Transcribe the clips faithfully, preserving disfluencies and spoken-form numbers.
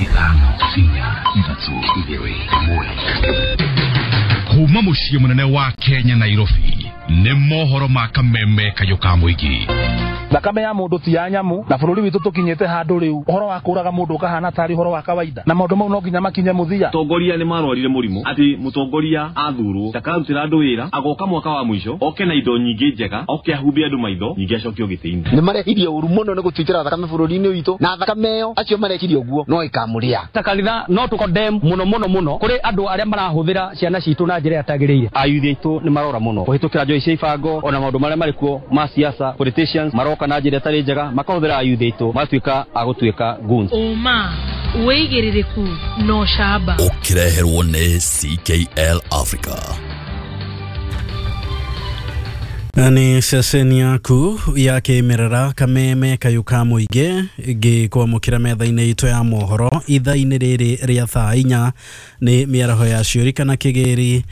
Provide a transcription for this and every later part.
Ithano, inya, ithatu, igĩrĩ, ĩmwe. Kuma mũciĩ mũnene wa Kenya, Nairobi, nĩ mohoro ma kameme kayũ ka mũingĩ. Thakame ya mundu ti ya nyamu, na bururi witu tukinyite handu riu uhoro wa kuraga mundu ukahana tari uhoro wa kawaida, na maundu mau no nginya makinye muthia. Tongoria ni marwarire murimu ati mutongoria athurwo ndakarutira andu wira, agoka mwaka wa mwisho oke na indo nyingi njega, oke ahumbe andu maitho, nyingi acokio giti-ini. Ni marehirie uru muno ni gutwitira thakame bururi-ini witu, na thakame iyo acio marekirie uguo no ikamuria. Ta kanitha no tukondem muno muno muno kuri andu aria marahuthira ciana citu na njira yatagiriire. Ayuthi aitu ni marora muno kuhitukira njoi cia ibango ona maundu maria marikuo ma siasa, politicians maroka na njira ĩtarĩ njega, makahũthĩra ayuthi aitũ magatuĩka a gũtuĩka goons. Ũma wĩigĩrĩrĩku no camba ũkĩreherwo nĩ C K L Africa. Ni ceceni yaku ya kĩmerera kameme kayũ ka mũingĩ ngĩkwamũkĩra metha-inĩ itũ ya mohoro ithaa-inĩ rĩrĩ rĩa thaa inya nĩ mĩaraho ya ciũri kana kĩgĩri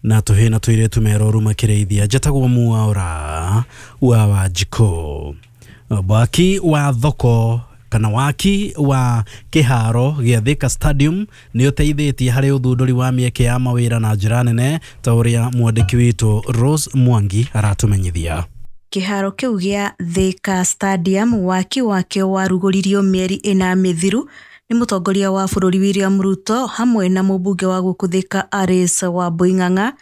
na tũhĩ na tũirĩtu meroru makĩrĩithia. Njetagwo Mwaura wa Wanjikũ. Waki wa thoko kana waki wa kĩharo gĩa Thika Stadium nĩ ũteithĩtie harĩ ũthundũri wa mĩeke ya mawĩra na njĩra nene ta ũrĩa mwandĩki witũ Rose Mwangi aratũmenyithia. Kĩharo kĩu gĩa Thika Stadium waki wakĩo warugũririo mĩeri ĩna mĩthiru nĩ mũtongoria wa bũrũri William Ruto hamwe na mũmbunge wa gũkũ Thika Alice Wambui Ng'ang'a.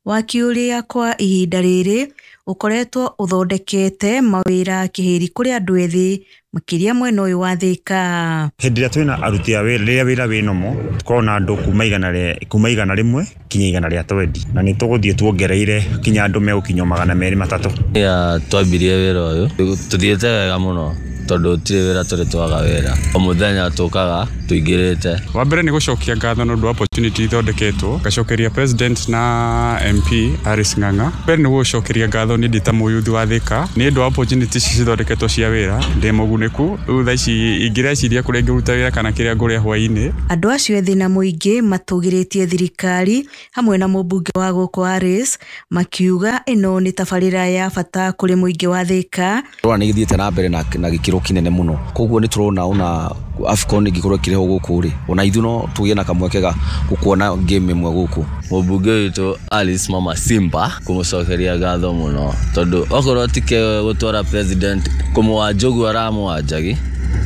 Waki ũrĩa kwa ihinda rĩrĩ ũkoretwo ũthondekete mawĩra kĩhĩri kũrĩ andũ ethĩ makĩria mwena ũyũ wa Thika. Hĩndĩ ĩrĩa twĩna aruti a wĩra, rĩrĩa wĩra wĩ nomo, tũkoragwo na andũ kuma igana rĩa kuma igana rĩmwe kinya igana rĩa twendi, na nĩ tũgũthiĩ tuongereire kinya andũ megũkinya magana merĩ matatũ. Ya twambirie wĩra ũyũ tũthiĩte wega mũno tondũ gũtirĩ wĩra tũrĩ twaga wĩra, o mũthenya tũkaga tũingĩrĩte. Wa mbere nĩ gũcokia ngatho nĩ ũndũ wa opportunity ithondeketwo, ngacokeria president na M P Alice Ng'ang'a. Mbere nĩ gũcokeria ngatho nĩ ndĩ ta mũyuthi wa Thika nĩ ũndũ wa opportunity ici cithondeketwo cia wĩra, ndĩ mũgunĩku rĩu thaa ici ingĩreciria kũrĩa ingĩruta wĩra kana kĩrĩa ngũrĩa hwaĩ-inĩ. Andũ acio ethĩ na mũingĩ matũgĩrĩtie thirikari hamwe na mũmbunge wa gũkũ Alice makiuga ĩno nĩ tabarĩra ya bata kũrĩ mũingĩ wa Thika. Rora nĩ gĩthiĩte na mbere na gĩkĩro kinene muno, koguo nĩ turona ona AFCON ĩngĩkorwo ĩkĩrehwo gũkũ rĩ, ona ithuĩ no tũgĩe na kamweke ga gũkuona game ĩmwe gũkũ. Mũmbunge witũ Alice Mama Simba kũmũcokeria ngatho mũno tondũ okorwo ti gũtwara president kũmũwanja ũguo aramũwanjagi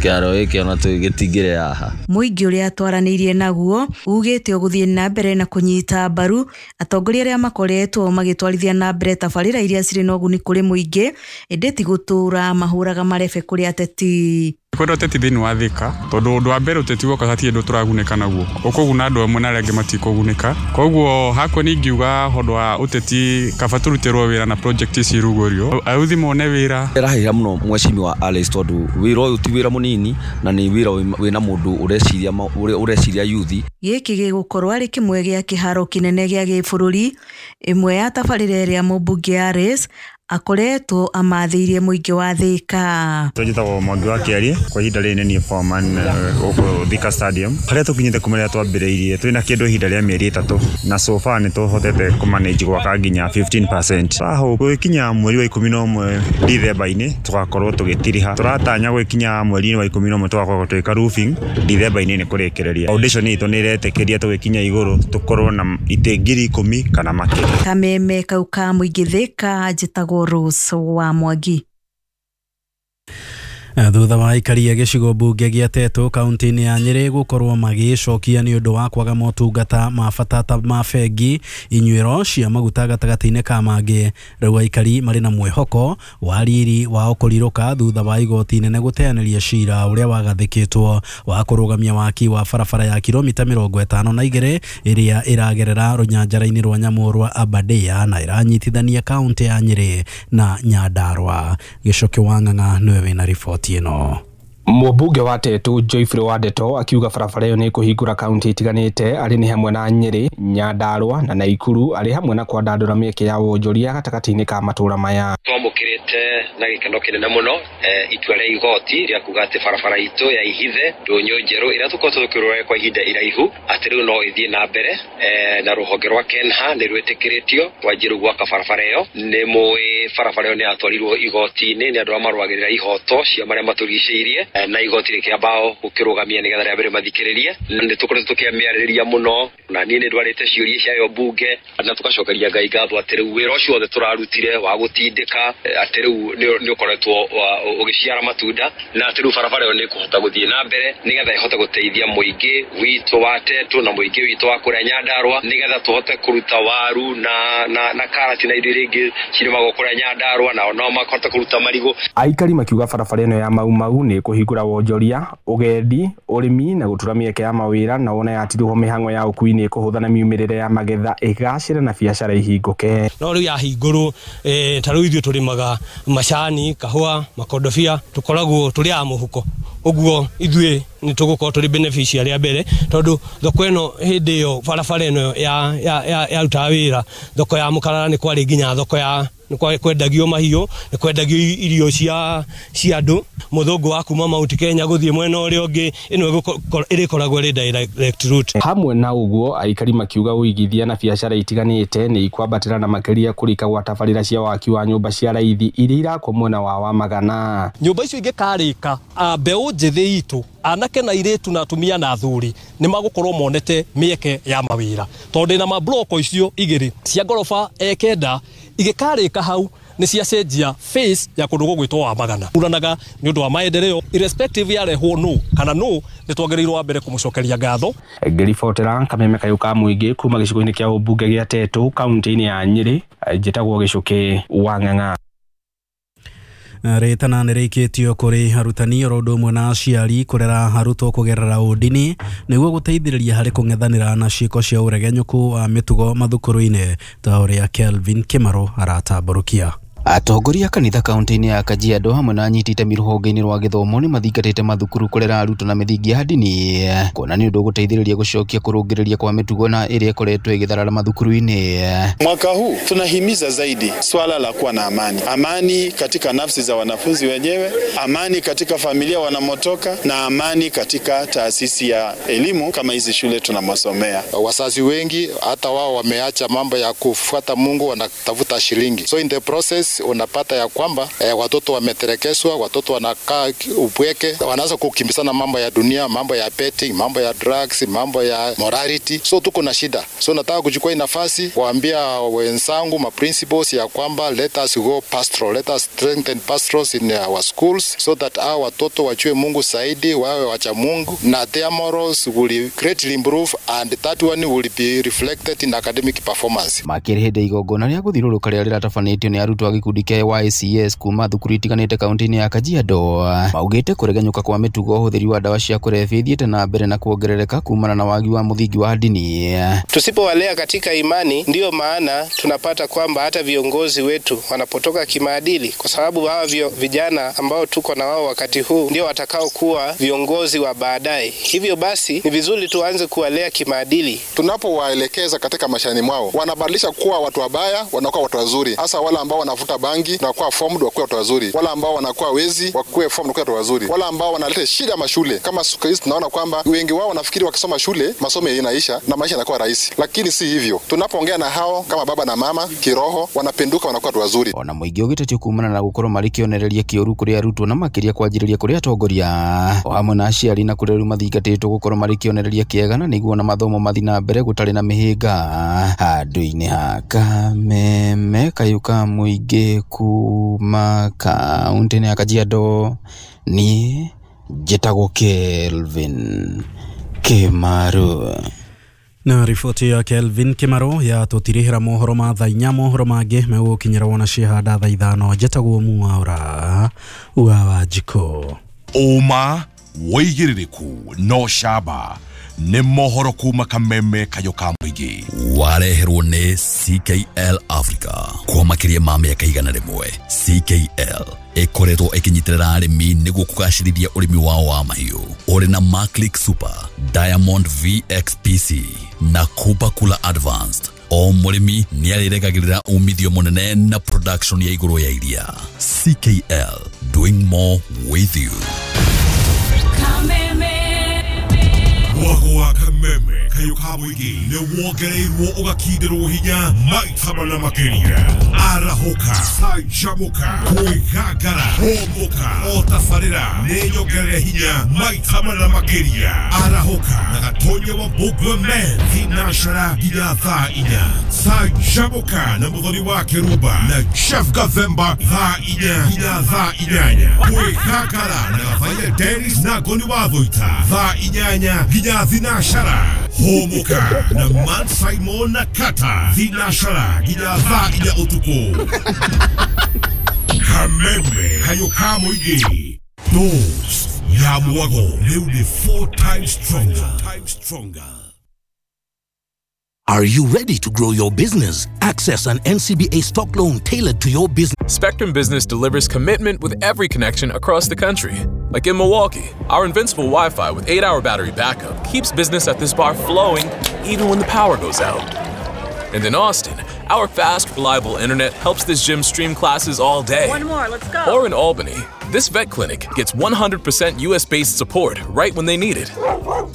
kĩharo gĩkĩ ona gĩtingĩrĩ haha. Mũingĩ ũrĩa twaranĩirie naguo ugĩte ũgũthiĩ na mbere na kũnyita mbaru atongoria arĩa makoretwo magĩtwarithia na mbere tabarĩra iria cirĩ na ũguni kũrĩ mũingĩ, ĩndĩ ti gũtũra mahũraga marebe kũrĩ ateti. Kwenda ũteti thĩinĩ wa Thika tondũ ũndũ wa mbere ũteti woka hatirĩ ũndũ tũragunĩka naguo, ũkũguna andũ amwe na arĩa angĩ matikũgunĩka. Koguo hakwa nĩ ingiuga ũndũ wa ũteti kaba tũrutĩrwo wĩra na project ici irugũrio, ayuthi mone wĩra. Ĩrahĩra mũno mheshimiwa Alice tondũ wĩra ũyũ ti wĩra mũnini na nĩ wĩra wĩna mũndũ ũreciria ũreciria yuthi. Gĩkĩ gĩgũkorwo arĩ kĩmwe gĩa kĩharo kĩnene gĩa gĩbũrũri, ĩmwe ya tabarĩra ĩrĩa mũmbunge Alice akoretwo amathĩirie mũingĩ wa Thika. Njĩtagwo Mwangi wa Kĩarie, kwa ihinda rĩrĩ nĩ niĩ foreman gũkũ Thika Stadium. Harĩa tũkinyĩte kuma rĩrĩa twambĩrĩirie twĩna kĩndũ ihinda rĩa mĩeri ĩtatũ, na so far nĩ tũhotete kũmanage gwaka nginya fifteen percent. Tũrahope gũgĩkinya mweri wa ikũmi na ũmwe Dithemba-inĩ tũgakorwo tũgĩtiriha. Tũratanya gũgĩkinya mweri-inĩ wa ikũmi na ũmwe tũgakorwo tũgĩka roofing, Dithemba-inĩ nĩ kũrĩkĩrĩria. Foundation itũ nĩ ĩretĩkĩria tũgĩkinya igũrũ tũkorwo na itĩ ngiri ikũmi kana makĩria. Kameme kau ka mũingĩ Thika, njĩtagwo Rose wa Mwangi. Thutha wa aikari a gĩcigo mbunge gĩa Tetu kaunti-inĩ ya Nyĩrĩ gũkorwo magĩcokia nĩ ũndũ wa kwaga motungata ma bata ta ma bengi, inyuĩro cia maguta gatagatĩ-inĩ ka mangĩ, rĩu aikari marĩ na mwĩhoko wa riri wao kũrirũka thutha wa igoti inene gũteanĩria cira ũrĩa wagathĩkĩtwo wa kũrũgamia waki wa barabara ya kilomita mĩrongo ĩtano na igĩrĩ ĩrĩa ĩragerera rũnyanjara-inĩ rwa nyamũ rwa Aberdare na ĩranyitithania kaunti ya Nyĩrĩ na Nyandarua. Gĩcoki wa Ng'ang'a nĩwe wĩna riboti ĩno. Mũmbunge wa Tetu Geoffrey Wandeto akiuga barabara ĩyo nĩ ĩkũhingũra kaunti itiganĩte arĩ nĩ hamwe na Nyĩrĩ, Nyandarua na Naikuru, arĩ hamwe na kwandandũra mĩeke ya wonjoria gatagatĩ-inĩ ka matũũra maya. Twamũkĩrĩte na gĩkeno kĩnene mũno itua rĩa igoti rĩa kuga atĩ barabara itũ ya Ihithe Ndũnyũ Njerũ ĩrĩa tũkoretwo tũkĩrũra kwa ihinda iraihu atĩ rĩu no ĩthiĩ na mbere, na rũhonge rwa KENHA nĩ rwĩtĩkĩrĩtio kwanjia rĩu gwaka barabara ĩyo. Nĩ mũĩ barabara ĩyo nĩ yatwarirwo igoti-inĩ nĩ andũ arĩa marũagĩrĩra ihoto cia marĩa matũrigicĩirie, na igoti rĩkĩamba gũkĩrũgamia nĩgetha rĩa mbere mathikĩrĩrie. Nĩ tũkoretwo tũkĩmĩarĩrĩria mũno na niĩ nĩ ndwarĩte ciũria ciayo mbunge na tũgacokeria Ngai ngatho atĩ rĩu wĩra ũcio wothe tũrarutire wa gũtindĩka atĩ rĩu nĩ ũkoretwo ũgĩciara matunda na atĩ rĩu barabara ĩyo nĩ ĩkũhota gũthiĩ na mbere nĩgetha ĩhote gũteithia mũingĩ witũ wa Tetu na mũingĩ witũ wa kũrĩa Nyandarũa nĩgetha tũhote kũruta waru na na na karati na indo iria ingĩ cirĩmagwo kũrĩa Nyandarũa nao no mahote kũruta marigũ. Aikari makiuga barabara ĩno ya Mau Mau nĩ ĩkũhingũra wonjoria, ũgendi, ũrĩmi na gũtura mĩeke ya mawĩra na wona yatirihwo mĩhang'o ya ũkui nĩ ĩkũhũtha na miumĩrĩre ya magetha ĩgacĩre na biacara ihingũke. No rĩu yahingũrwo eh, ta rĩu ithuĩ tũrĩmaga macani, kahũa, makondobia, tũkoragwo tũrĩ a mũhuko ũguo ithuĩ nĩ tũgũkorwo tũrĩ beneficiary a mbere tondũ thoko ĩno hĩndĩ ĩyo barabara ĩno ya ya yarutaga wĩra thoko ya Mũkarara nĩ kwarĩ nginya thoko ya nĩ kwendagio mahiũ, nĩ kwendagio irio cia cia andũ. Mũthũngũ wa kuma Mount Kenya gũthiĩ mwena ũrĩa ũngĩ ĩno ĩrĩkoragwo ĩrĩ direct route. Hamwe na ũguo aikari makiuga ũigithia na biacara itiganĩte nĩ ikwambatĩra na makĩria kũrika gwa tabarĩra cia waki wa nyũmba cia raithi iria irakwo mwena wa Wamagana. Nyũmba icio ingĩkarĩka mbeũ njĩthĩ itũ anake na irĩtu na atumia na athuri nĩ magũkorwo monete mĩeke ya mawĩra tondũ ndĩna mabloko icio igĩrĩ cia ngoroba e kenda igĩkarĩka hau nĩ ciacenjia face ya kũndũ gũgwĩtwo Wamagana. Uranaga nĩ ũndũ wa maendeleo irrespective yarehwo nũ kana nũ nĩ twagĩrĩirwo wa mbere kũmũcokeria ngatho. Ngĩribotera Kameme Kayũ ka Mũingĩ kuma gĩcigo-inĩ kĩa ũmbunge gĩa Tetu kaunti-inĩ ya Nyĩrĩ, njĩtagwo Gĩcũkĩ wa Ng'ang'a. Rĩtana nĩ rĩikĩtio kũrĩ arutani oro ũndũ ũmwe na aciari kũrera arutwo kũgerera ũndini nĩguo gũteithĩrĩria harĩ kũng'ethanĩra na ciĩko cia ũregenyũku wa mĩtugo mathukuru-inĩ ta ũrĩa Kelvin Kĩmaro aratambũrũkia. Atongoria kanitha kaunti-inĩ ya Kajiado hamwe na anyiti itemi rũhonge-inĩ rwa gĩthomo nĩ mathingatĩte mathukuru kũrera arutwo na mĩthingi ya ndini kuona nĩ ũndũ ũgũteithĩrĩria gũcokia kũrũngĩrĩria kwa mĩtugo na ĩrĩa ĩkoretwo ĩgĩtharara mathukuru-inĩ. Mwaka huu tunahimiza zaidi swala la kuwa na amani, amani katika nafsi za wanafunzi wenyewe, amani katika familia wanamotoka na amani katika taasisi ya elimu kama hizi shule tunamosomea. Wazazi wengi hata wao wameacha mambo ya kufuata Mungu, wanatafuta shilingi, so in the process unapata ya kwamba eh, watoto wameterekeswa, watoto wanakaa upweke, wanaanza kukimbizana mambo ya dunia, mambo ya betting, mambo ya drugs, mambo ya morality. So tuko na shida. So nataka kuchukua nafasi kuambia wenzangu ma principals ya kwamba let us go pastoral, let us strengthen pastorals in our schools so that our watoto wajue Mungu zaidi, wawe wacha Mungu, na their morals will greatly improve and that one will be reflected in academic performance. Makĩrĩ hĩndĩ igongona rĩa gũthiũrũrũka rĩrĩa rĩratabanĩtio nĩ arutwo a gĩkundi kĩa Y C S kuma thukuru itiganĩte kaunti-inĩ ya Kajiado maugĩte kũregenyũka kwa mĩtugo ũhũthĩri wa ndawa cia kũrebia ithiĩte na mbere na kuongerereka kumana na wagi wa mũthingi wa ndini. Tusipowalea katika imani, ndiyo maana tunapata kwamba hata viongozi wetu wanapotoka kimaadili, kwa sababu hawa vijana ambao tuko na wao wakati huu ndio watakao kuwa viongozi wa baadaye. Hivyo basi ni vizuri tuanze kuwalea kimaadili. Tunapowaelekeza katika maishani mwao, wanabadilisha kuwa watu wabaya, wanakuwa watu wazuri. Hasa wale ambao wanavuta bangi na kuwa formed wakuwa watu wazuri, wale ambao wanakuwa wezi wakuwe formed wakuwa watu wazuri, wale ambao wanaleta shida mashule. Kama siku hizi tunaona kwamba wengi wao wanafikiri wakisoma shule masomo yanaisha na maisha yanakuwa rahisi, lakini si hivyo. Tunapoongea na hao kama baba na mama kiroho, wanapenduka wanakuwa watu wazuri. Ona mũingĩ ũgĩtetio kumana na gũkorwo marĩ kĩonereria kĩũru kũrĩ arutwo na makĩria kwanjĩrĩria kũrĩ atongoria o hamwe na aciari na kũrĩ rĩu mathingatĩtwo gũkorwo marĩ kĩonereria kĩega na nĩguo na mathomo mathiĩ na mbere gũtarĩ na mĩhĩnga. Handũ-inĩ ha Kameme Kayũ ka Mũingĩ kuma kaunti-inĩ ya Kajiado, niĩ njĩtagwo Kelvin Kĩmaru. Na riboti ya Kelvin Kĩmaru ya tũtirĩhĩra mohoro ma thaa inya. Mohoro mangĩ megũkinyĩra wona ciahanda thaa ithano. Njĩtagwo Mwaura wa Wanjikũ. Ũma wĩigĩrĩrĩku no camba nĩ mohoro kuma Kameme Kayũ ka Mũingĩ wareherwo nĩ C K L Africa kwa makĩria ma mĩaka igana rĩmwe. C K L ĩkoretwo ĩkĩnyitĩrĩra arĩmi nĩguo kũgacĩrithia ũrĩmi wao wa mahiũ ũrĩ na Maclick Super, Diamond V X P C na Kupa Kula Advanced. O mũrĩmi nĩ arĩregagĩrĩra umithio mũnene na production ya igũrũ ya iria. C K L, doing more with you. Kameme. Mwago wa Kameme. kayũ ka mũingĩ nĩ wongereirwo ũgakindĩrwo hinya maita mana makĩria. Arahũka, canjamũka, kwĩgangara, hũmũka, o tabarĩra nĩ nyongerere hinya maita mana makĩria. Arahũka na Gatonye wa Mbũgua Men thinacara nginya thaa inya. Canjamũka na Mũthoni wa Kĩrumba na Jeff Gathemba thaa inya nginya thaa inyanya. Kwĩgangara na Gathaia Dennis na Ngoni wa Thũita thaa inyanya nginya thinacara. Hũmũka na Man Simon na Kata thinacara nginya thaa inya ũtukũ. Kameme kayũ ka mũingĩ Dose ya mwago rĩu nĩ four times stronger. Stronger. Are you ready to grow your business? Access an N C B A stock loan tailored to your business. Spectrum Business delivers commitment with every connection across the country. Like in Milwaukee, our invincible Wi-Fi with eight hour battery backup keeps business at this bar flowing even when the power goes out. And in Austin, our fast, reliable internet helps this gym stream classes all day. One more, let's go. Or in Albany, this vet clinic gets one hundred percent U S-based support right when they need it,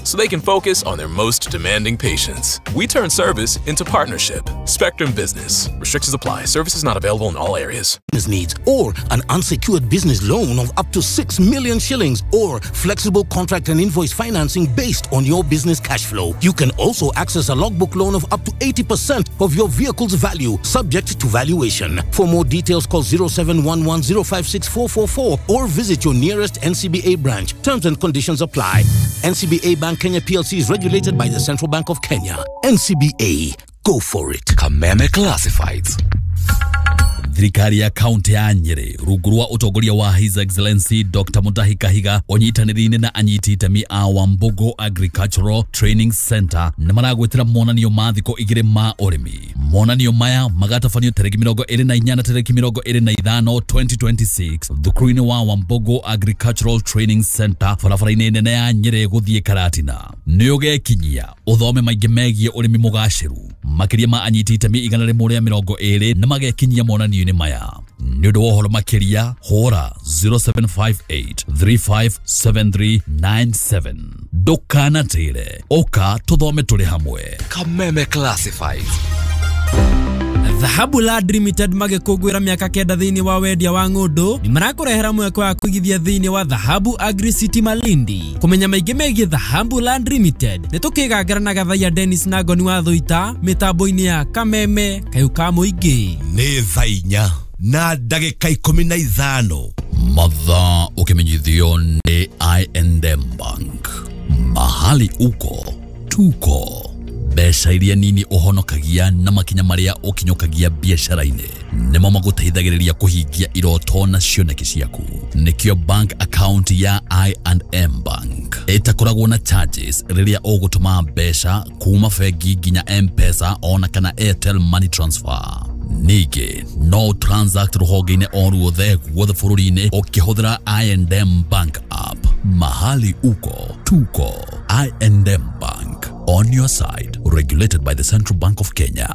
so they can focus on their most demanding patients. We turn service into partnership. Spectrum Business. Restrictions apply. Services not available in all areas. Business needs, or an unsecured business loan of up to six million shillings, or flexible contract and invoice financing based on your business cash flow. You can also access a logbook loan of up to eighty percent of your vehicle's value, subject to valuation. For more details, call zero seven one one zero five six four four four or visit your nearest N C B A branch. Terms and conditions apply. N C B A Bank Kenya P L C is regulated by the Central Bank of Kenya. N C B A, go for it. Kameme Classifieds. Thirikari ya kaunti ya Nyeri rungu rwa utongoria wa His Excellency Doctor Mutahi Kahiga onyitanĩire na anyiti itemi a Wambugu Agricultural Training Center nĩ maragwĩtĩra monanio ma thikũ igĩrĩ ma ũrĩmi. Monanio maya magatabanio tarĩki mĩrongo ĩrĩ na inya na tarĩki mĩrongo ĩrĩ na ithano twenty twenty-six thukuru-inĩ wa Wambugu Agricultural Training Center barabara-inĩ nene ya Nyeri gũthiĩ Karatina. Nĩ ũgekinyia ũthome maingĩ megiĩ ũrĩmi mũgacĩru. Makĩria ma anyiti itemi igana rĩmwe rĩa mĩrongo ĩrĩ nĩ magekinyia monanio maya. Nĩ ũndũ wa ũhoro makĩria hũra zero seven five eight three five seven three nine seven. Ndũkanatĩre, ũka tũthome tũrĩ hamwe. Kameme Classifieds. Dhahabu Land Limited magĩkũngũĩra mĩaka kenda thĩinĩ wa wendia wa ng'ũndũ nĩ marakũrehera mweke wa kũigithia thĩinĩ wa Dhahabu Agri City Malindi. Kũmenya maingĩ megiĩ Dhahabu Land Limited nĩ tũkĩgangara na Gathaia Dennis na Ngoni wa Thũita mĩtambo-inĩ ya Kameme kayũ ka mũingĩ. Nĩ thaa inya na ndagĩka ikũmi na ithano. Mathaa ũkĩmenyithio nĩ I and M Bank. Mahali uko tuko. Mbeca iria nini ũhonokagia na makinya marĩa ũkinyũkagia biacara-inĩ nĩmo magũteithagĩrĩria kũhingia iroto na cioneki ciaku. Nĩkĩo bank account ya I and M Bank ĩtakoragwo na charges rĩrĩa ũgũtũma mbeca kuma bengi nginya M-Pesa ona kana Airtel Money Transfer. Ningĩ no transact rũhonge-inĩ o ruothe guothe bũrũri-inĩ ũkĩhũthĩra I and M Bank app. Mahali uko tuko. I and M Bank, on your side, regulated by the Central Bank of Kenya.